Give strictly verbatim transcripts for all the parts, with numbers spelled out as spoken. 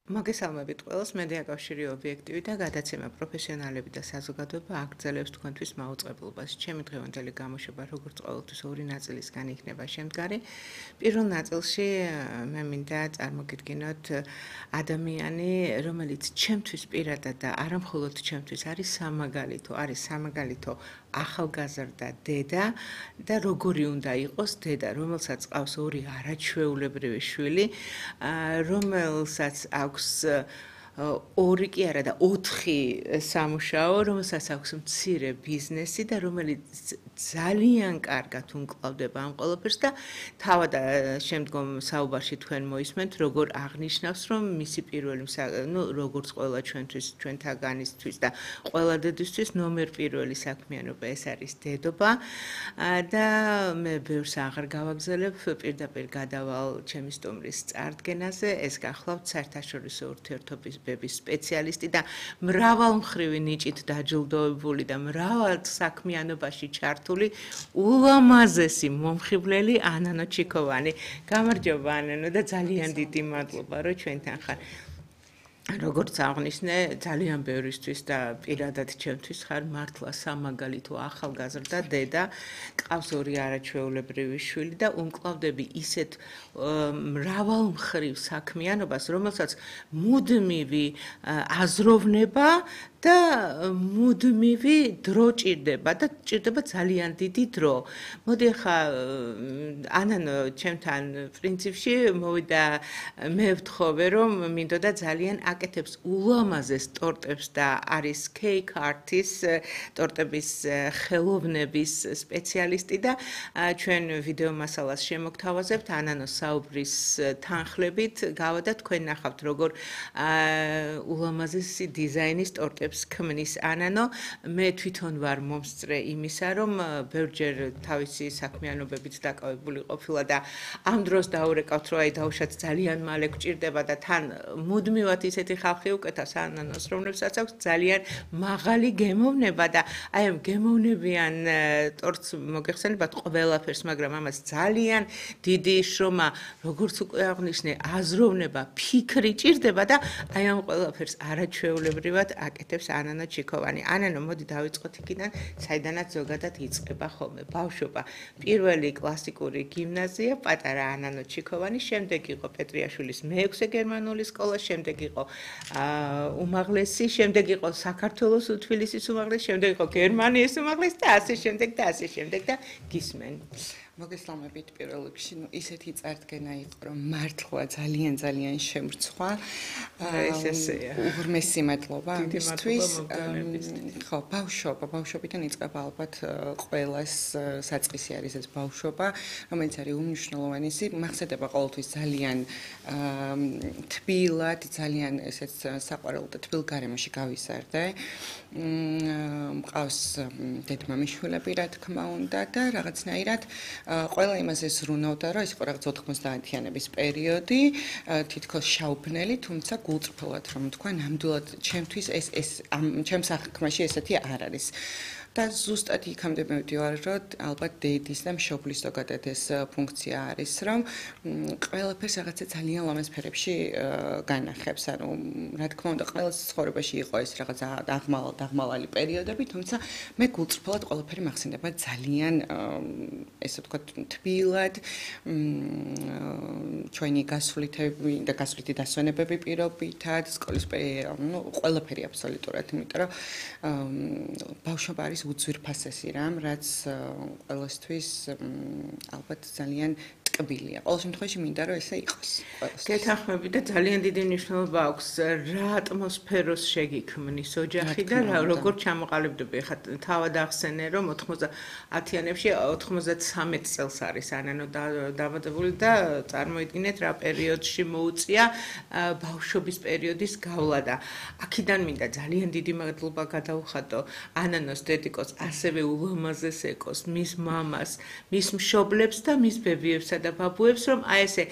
მოგესალმებით ყველას, მედია კავშირი ობიექტივი და გადაცემა პროფესიონალები და საზოგადოება აგრძელებს თქვენთვის მაუწყებლობას. ჩემი დღევანდელი გამოშვება როგორც ყოველთვის ორი ნაწილისგან იქნება შემდგარი. პირველ ნაწილში მე მინდა წარმოგიდგინოთ ადამიანი, რომელიც ჩემთვის პირადად და არა მხოლოდ ჩემთვის არის სამაგალითო, არის სამაგალითო ახალგაზრდა დედა და როგორი უნდა იყოს დედა, რომელსაც ყავს ორი არაჩვეულებრივი შვილი, რომელსაც აქვს ორი კი არა და ოთხი სამუშაო, რომელსაც აქვს მცირე ბიზნესი და რომელიც ძალიან კარგად უმკლავდება ამ ყველაფერს და თავად შემდგომ საუბარში თქვენ მოისმენთ, როგორ აღნიშნავს, რომ მისი პირველი, ну, როგორც ყველა ჩვენთვის, ჩვენთაგანისთვის და ყველა დედისთვის ნომერ პირველი საქმიანობა ეს არის დედობა და მე ბევრს აღარ გავაგზავნებ, პირდაპირ გადავალ ჩემი სტუმრის წარდგენაზე, ეს გახლავთ საერთაშორისო ურთიერთობის სპეციალისტი და მრავალმხრივი ნიჭით დაჯილდოებული და მრავალ საქმიანობაში ჩართული ულამაზესი მომხიბვლელი ანანო ჩიქოვანი. გამარჯობა ანანო და ძალიან დიდი მადლობა რომ ჩვენთან ხარ. როგორც აღნიშნე, ძალიან ბევრისთვის და პირადად ჩემთვის ხარ მართლა სამაგალითო ახალგაზრდა დედა, ყავს ორი არაჩვეულებრივი შვილი და უმკლავდები ისეთ მრავალმხრივ საქმიანობას, რომელსაც მუდმივი აზროვნება და მუდმივი დრო ჭირდება და ჭირდება ძალიან დიდი დრო. მოდი ახლა ანანო ჩემთან პრინციპში მოვიდა მე ვთხოვე რომ მინდოდა ძალიან აკეთებს ულამაზეს ტორტებს და არის cake artist, ტორტების ხელოვნების სპეციალისტი და ჩვენ ვიდეო მასალას შემოგთავაზებთ ანანოს საუბრის თანხლებით გავა და თქვენ ნახავთ როგორ ულამაზესი დიზაინის ტორტებს ქმნის ანანო. მე თვითონ ვარ მომსწრე იმისა, რომ ბევრჯერ თავისი საქმიანობებით დაკავებული ყოფილა და ამ დროს დაურეკავთ, რომ აი დავუშვათ ძალიან მალე გვჭირდება და თან მუდმივად ისეთი ხალხი უკეთავს ანანოს, რომლებსაც აქვს ძალიან მაღალი გემოვნება და აი ამ გემოვნებიან ტორტს მოგეხსენებათ ყველაფერს, მაგრამ ამას ძალიან დიდი შრომა, როგორც უკვე აღნიშნე, აზროვნება, ფიქრი ჭირდება და აი ამ ყველაფერს არაჩვეულებრივად აკეთებს ანანო ჩიქოვანი. ანანო, მოდი დავიწყოთ იქიდან, საიდანაც ზოგადად იწყება ხოლმე ბავშვობა. პირველი კლასიკური გიმნაზია, პატარა ანანო ჩიქოვანი, შემდეგ იყო პეტრიაშვილის მეექვსე გერმანული სკოლა, შემდეგ იყო უმაღლესი, შემდეგ იყო საქართველოს თბილისის უმაღლესი, შემდეგ იყო გერმანიის უმაღლესი და ასე შემდეგ და ასე შემდეგ და გისმენ. მოგესალმებით პირველ რიგში, ну ისეთი წარდგენა იყო, რომ მართლა ძალიან ძალიან შემრცხვა. ეს ესეა. უღრმესი მადლობა ამისთვის. ხო, ბავშვობა, ბავშვობიდან იწყება ალბათ ყველას საწყისი არის ეს ბავშვობა, რომელიც არის უმნიშვნელოვანესი. მახსენდება ყოველთვის ძალიან თბილად, ძალიან ესეც საყვარელ და თბილ გარემოში გავიზარდე. მყავს დედმამის შვილები, რა თქმა უნდა და რაღაცნაირად ყველა იმაზე ზრუნავდა, რომ ეს იყო რაღაც ოთხმოცდაათიანების პერიოდი, თითქოს შაუბნელი, თუმცა გულწრფელად რომ თქვა, ნამდვილად ჩემთვის ეს ეს ჩემ საქმეში ესეთი არ არის. და ზუსტად იქამდე მივდივარ, რომ ალბათ დედის და მშობლის ზოგადად ეს ფუნქცია არის, რომ ყველაფერს რაღაცა ძალიან ლამაზ ფერებში განახებს. ანუ რა თქმა უნდა, ყველას ცხოვრებაში იყო ეს რაღაცა დაღმალ დაღმალალი პერიოდები, თუმცა მე გულწრფელად ყველაფერი მახსენდება ძალიან ესე ვთქვათ, თბილად, ჩვენი გასვლითები და გასვლითი დასვენებები პირობითად, სკოლის ну ყველაფერი აბსოლუტურად, იმიტომ რომ ბავშვობა არის უძვირფასესი რამ, რაც ყველასთვის ალბათ ძალიან ტკბილია. ყოველ შემთხვევაში მინდა რომ ესე იყოს. გეთანხმები და ძალიან დიდი მნიშვნელობა აქვს რა ატმოსფეროს შეგიქმნის ოჯახი და როგორ ჩამოყალიბდება. ხა თავად ახსენე რომ ოთხმოცდაათიანებში ოცდამეც წელს არის ანანო დაბადებული და წარმოიდგინეთ რა პერიოდში მოუწია ბავშვობის პერიოდის გავლა და აქედან მინდა ძალიან დიდი მადლობა გადავხატო ანანოს დედიკოს, ასევე ულამაზეს ეკოს, მის მამას, მის მშობლებს და მის ბებიებსა და ბაბუებს, რომ აი ესე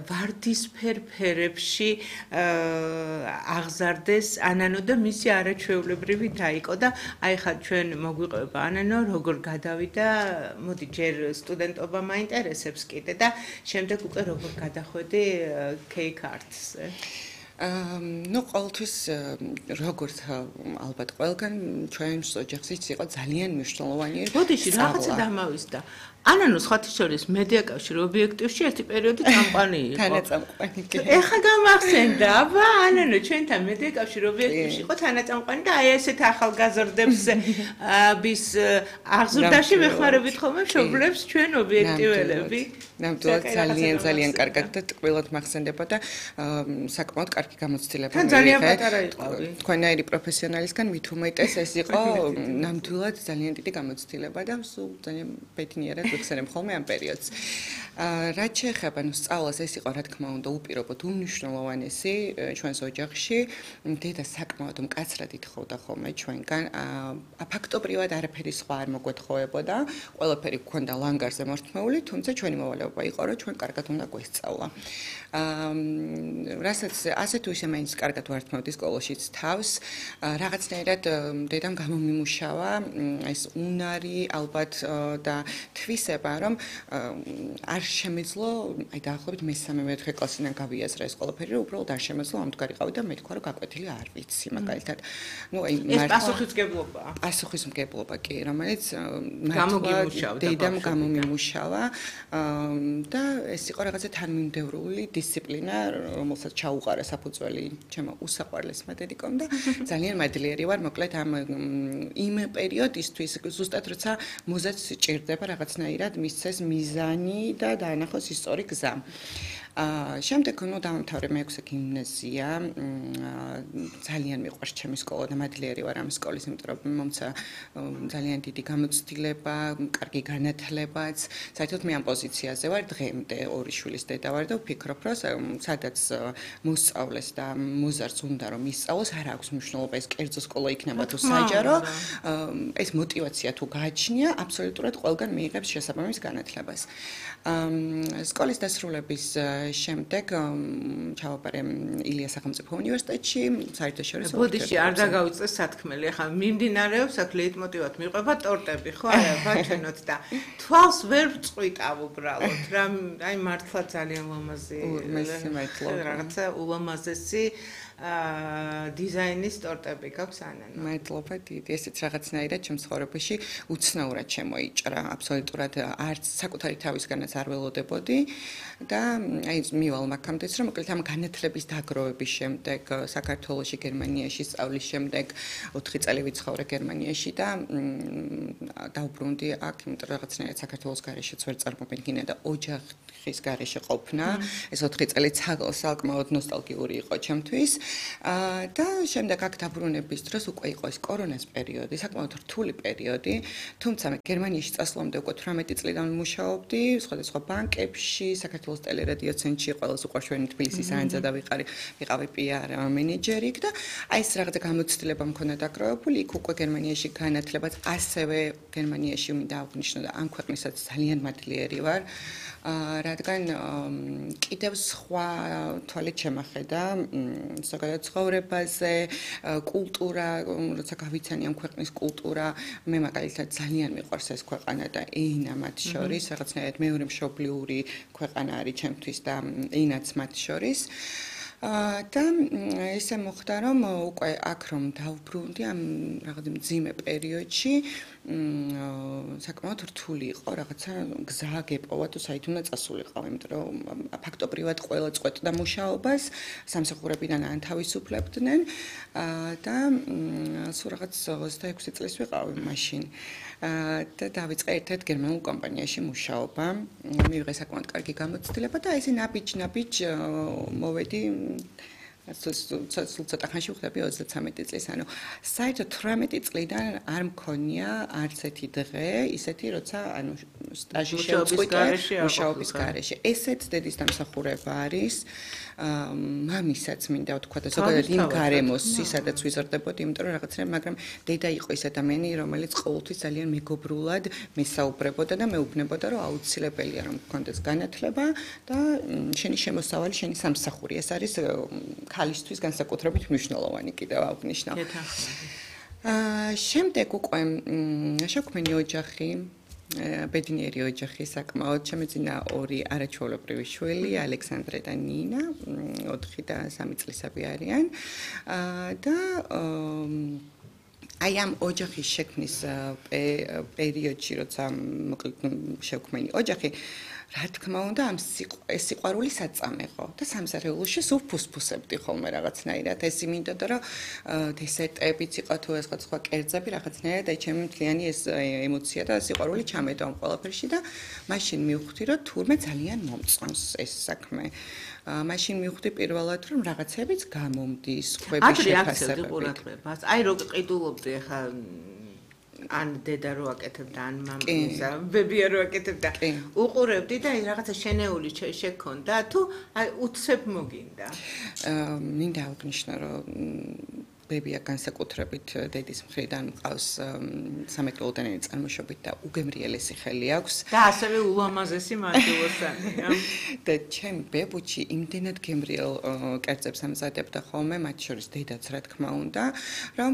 ვარდისფერ ფერებში აღზარდეს ანანო და მისი არაჩვეულებრივი დაიკო და აი ხა ჩვენ მოგვიყვება ანანო როგორ გადავიდა, მოდი ჯერ სტუდენტობა მაინტერესებს კიდე და შემდეგ უკვე როგორ გადახვედი cake arts-ზე. ну, ყოველთვის როგორც ალბათ ყველგან ჩვენს ოჯახშიც იყო ძალიან მნიშვნელოვანი. ბოდიში რაღაცა დამავისდა. ანანო სხვათა შორის მედია კავშირი ობიექტივში ერთი პერიოდი წამყვანი იყო. თანაწამყვანი. ეხა გამახსენდა, აბა, ანანო ჩვენთან მედია კავშირი ობიექტივში იყო თანაწამყვანი და აი ესეთ ახალგაზრდებს bis აღზრდაში ვეხმარებით ხოლმე მშობლებს ჩვენ ობიექტიველები. ნამდვილად ძალიან ძალიან კარგად და ტკბილად მახსენდება და საკმაოდ კარგი გამოცდილება მიიღეთ. ძალიან პატარა იყავი. თქვენაირი პროფესიონალისგან მით უმეტეს ეს იყო ნამდვილად ძალიან დიდი გამოცდილება და სულ ძალიან ბედნიერად ვიხსენებ ხოლმე ამ პერიოდს. რაც შეეხება ნუ სწავლას, ეს იყო რა თქმა უნდა უპირობოდ უმნიშვნელოვანესი ჩვენს ოჯახში. დედა საკმაოდ მკაცრად ითხოვდა ხოლმე ჩვენგან. ფაქტობრივად არაფერი სხვა არ მოგვეთხოვებოდა. ყველაფერი გქონდა ლანგარზე მორთმეული, თუმცა ჩვენი მოვალეობა იყო, რომ ჩვენ კარგად უნდა გვესწავლა. რასაც ასე თუ ისე მაინც კარგად ვართმევდი სკოლაშიც თავს, რაღაცნაირად დედამ გამომიმუშავა ეს უნარი ალბათ და თვისება, რომ არ შემეძლო, აი დაახლოებით მესამე მეოთხე კლასიდან გავიაზრა ეს ყველაფერი, რომ უბრალოდ არ შემეძლო ამდგარიყავი და მე თქვა, რომ გაკვეთილი არ ვიცი, მაგალითად. ნუ აი ეს პასუხისმგებლობაა. პასუხისმგებლობა კი, რომელიც მართლა დედამ გამომიმუშავა და ეს იყო რაღაცა თანმიმდევრული დისციპლინა, რომელსაც ჩაუყარა საფუძველი ჩემო უსაყვარლესმა დედიკომ და ძალიან მადლიერი ვარ, მოკლედ ამ იმ პერიოდისთვის, ზუსტად როცა მოზაც ჭირდება რაღაცნაირად მისცეს მიზანი და დაანახოს ისტორიკ გზა. შემდეგ ნუ დავამთავრე მეექვსე გიმნაზია. ძალიან მიყვარს ჩემი სკოლა და მადლიერი ვარ ამ სკოლის, იმიტომ რომ მომცა ძალიან დიდი გამოცდილება, კარგი განათლებაც. საერთოდ მე ამ პოზიციაზე ვარ დღემდე, ორი შვილის დედა ვარ და ვფიქრობ, რომ სადაც მოსწავლეს და მოზარდს უნდა რომ ისწავლოს, არ აქვს მნიშვნელობა ეს კერძო სკოლა იქნება თუ საჯარო. ეს мотиваცია თუ გააჩნია, აბსოლუტურად ყველგან მიიღებს შესაბამის განათლებას. სკოლის დასრულების შემდეგ ჩავაბარე ილიას სახელმწიფო უნივერსიტეტში, საერთაშორისო ბოდიში არ დაგავიწყეს სათქმელი, ახლა მიმდინარეობს აქ ლეიტმოტივად მიყვება ტორტები, ხო არა, ბაჩენოთ და თვალს ვერ ვწყვიტავ უბრალოდ, რა აი მართლა ძალიან ლამაზი რაღაცა ულამაზესი დიზაინის ტორტები გაქვს ანანო. მადლობა დიდი, ესეც რაღაცნაირად ჩემ ცხოვრებაში უცნაურად შემოიჭრა, აბსოლუტურად არც საკუთარი თავისგანაც არ ველოდებოდი და აი მივალ მაგამდეც რომ მოკლედ ამ განათლების დაგროვების შემდეგ საქართველოში, გერმანიაში სწავლის შემდეგ ოთხი წელი ვიცხოვრე გერმანიაში და დავბრუნდი აქ, იმიტომ რომ რაღაცნაირად საქართველოს გარეშეც ვერ წარმომედგინა და ოჯახის გარეშე ყოფნა. ეს ოთხი წელი საკმაოდ ნოსტალგიური იყო ჩემთვის. და შემდეგ აქ დაბრუნების დროს უკვე იყო ეს კორონას პერიოდი, საკმაოდ რთული პერიოდი, თუმცა მე გერმანიაში წასვლამდე უკვე თვრამეტი წლიდან მუშაობდი სხვადასხვა ბანკებში, საქართველოს ტელერადიო ცენტრში, ყველას უყვარშვენი თბილისის ანძა და ვიყარი, ვიყავი პი არ მენეჯერი და აი ეს რაღაცა გამოცდილება მქონდა დაკროებული, იქ უკვე გერმანიაში განათლებაც, ასევე გერმანიაში მინდა აღვნიშნო და ამ ქვეყნისაც ძალიან მადლიერი ვარ. რადგან კიდევ სხვა თვალით შემახედა ზოგადად ცხოვრებაზე, კულტურა, როცა გავიცანი ამ ქვეყნის კულტურა, მე მაგალითად ძალიან მიყვარს ეს ქვეყანა და ენა მათ შორის, რაღაცნაირად მეორე მშობლიური ქვეყანა არის ჩემთვის და ენაც მათ შორის. და ესე მოხდა რომ უკვე აქ რომ დავბრუნდი ამ რაღაც მძიმე პერიოდში საკმაოდ რთული იყო რაღაცა გზა გეპოვა თუ საით უნდა წასულიყავ, იმიტომ რომ ფაქტობრივად ყველა წყვეტდა მუშაობას, სამსახურებიდან ანთავისუფლებდნენ და სულ რაღაც ოცდაექვსი წლის ვიყავი მაშინ. და დავიწყე ერთ-ერთ გერმანულ კომპანიაში მუშაობა. მივიღე საკმაოდ კარგი გამოცდილება და ესე ნაბიჯ-ნაბიჯ მოვედი სულ ცოტა ხანში ვხდები ოცდათვრამეტი წლის, ანუ საერთოდ თვრამეტი წლიდან არ მქონია არც ერთი დღე, ისეთი როცა ანუ სტაჟი შევწყვიტე მუშაობის გარეშე. ესეც დედის დამსახურება არის. მამისაც მინდა ვთქვა და ზოგადად იმ გარემოს, სადაც ვიზრდებოდი, იმიტომ რომ რაღაცნაირად, მაგრამ დედა იყო ის ადამიანი, რომელიც ყოველთვის ძალიან მეგობრულად მესაუბრებოდა და მეუბნებოდა, რომ აუცილებელია რომ გქონდეს განათლება და შენი შემოსავალი, შენი სამსახური. ეს არის ქალისთვის განსაკუთრებით მნიშვნელოვანი კიდევ აღვნიშნავ. შემდეგ უკვე შექმნილი ოჯახი ბედნიერი ოჯახი საკმაოდ. ჩემი წინა ორი არაჩვეულებრივი შვილი, ალექსანდრე და ნინა, ოთხი და სამი წლისები არიან. და აი ამ ოჯახის შექმნის პერიოდში, როცა მოკლედ შევქმენი ოჯახი, რა თქმა უნდა, ამ სიყვარული საწამეყო და სამზარეულოში სულ ფუსფუსებდი ხოლმე რაღაცნაირად. ეს იმინდოდა, რომ დესერტებიც იყო თუ ეს სხვა კერძები რაღაცნაირად აი ჩემი მთლიანი ეს ემოცია და სიყვარული ჩამედო ამ ყველაფერში და მაშინ მივხვდი, რომ თურმე ძალიან momწონს ეს საქმე. მაშინ მივხვდი პირველად, რომ რაღაცებიც გამომდის, ხვები შეფასებებით. აი რო ყიდულობდი ახლა ან დედა რო აკეთებდა, ან მამისა, ბებია რო აკეთებდა. უყურებდი და აი რაღაცა შენეული შექონდა, თუ აი უცებ მოგინდა. მინდა აღნიშნო, რომ ბებია განსაკუთრებით დედის მხრიდან მყავს სამეკლოდანელი წარმოშობით და უგემრიელესი ხელი აქვს. და ასევე ულამაზესი მანჯულოსანია. და ჩემი ბებუჩი იმდენად გემრიელ კერძებს ამზადებდა ხოლმე, მათ შორის დედაც რა თქმა უნდა, რომ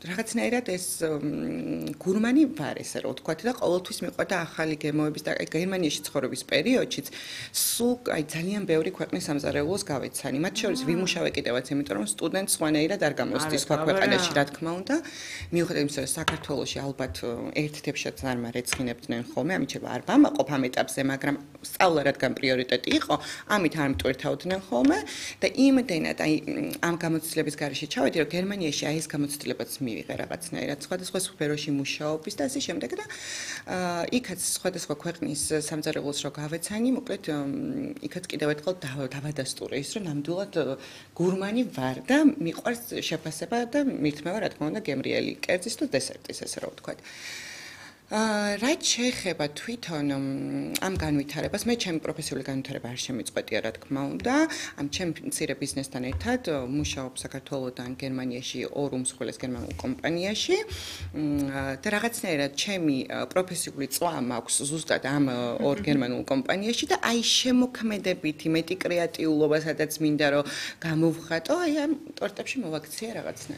რაღაცნაირად ეს გურმანი ვარ, ესე რომ ვთქვათ და ყოველთვის მიყვარდა ახალი გემოების და აი გერმანიაში ცხოვრების პერიოდშიც სულ აი ძალიან ბევრი ქვეყნის სამზარეულოს გავეცანი. მათ შორის ვიმუშავე კიდევაც, იმიტომ რომ სტუდენტ სხვანაირად არ გამოსდის სხვა ქვეყანაში, რა თქმა უნდა. მიუხედავად იმისა, რომ საქართველოში ალბათ ერთ თებშად არ მარეცხინებდნენ ხოლმე, ამით შეიძლება არ ვამაყობ ამ ეტაპზე, მაგრამ სწავლა რადგან პრიორიტეტი იყო, ამით არ მტვირთავდნენ ხოლმე და იმდენად აი ამ გამოცდილების გარეშე ჩავედი, რომ გერმანიაში აი ეს გამოცდილებაც მივიღე რაღაცნაირად სხვადასხვა სფეროში მუშაობის და ასე შემდეგ და იქაც სხვადასხვა ქვეყნის სამზარეულოს რო გავეცანი, მოკლედ იქაც კიდევ ერთხელ დავადასტურე ის, რომ ნამდვილად გურმანი ვარ და მიყვარს შეფასება და მირთმევა რა თქმა უნდა გემრიელი კერძის თუ დესერტის ესე რომ ვთქვათ. რაც შეეხება თვითონ ამ განვითარებას, მე ჩემი პროფესიული განვითარება არ შემიწყვეტია რა თქმა უნდა. ამ ჩემ მცირე ბიზნესთან ერთად მუშაობ საქართველოსთან გერმანიაში ორ უმსხვილეს გერმანულ კომპანიაში და რაღაცნაირად ჩემი პროფესიული წვა მაქვს ზუსტად ამ ორ გერმანულ კომპანიაში და აი შემოქმედებითი მეტი კრეატიულობა, სადაც მინდა რომ გამოვხატო, აი ამ ტორტებში მოვაქცია რაღაცნაირად.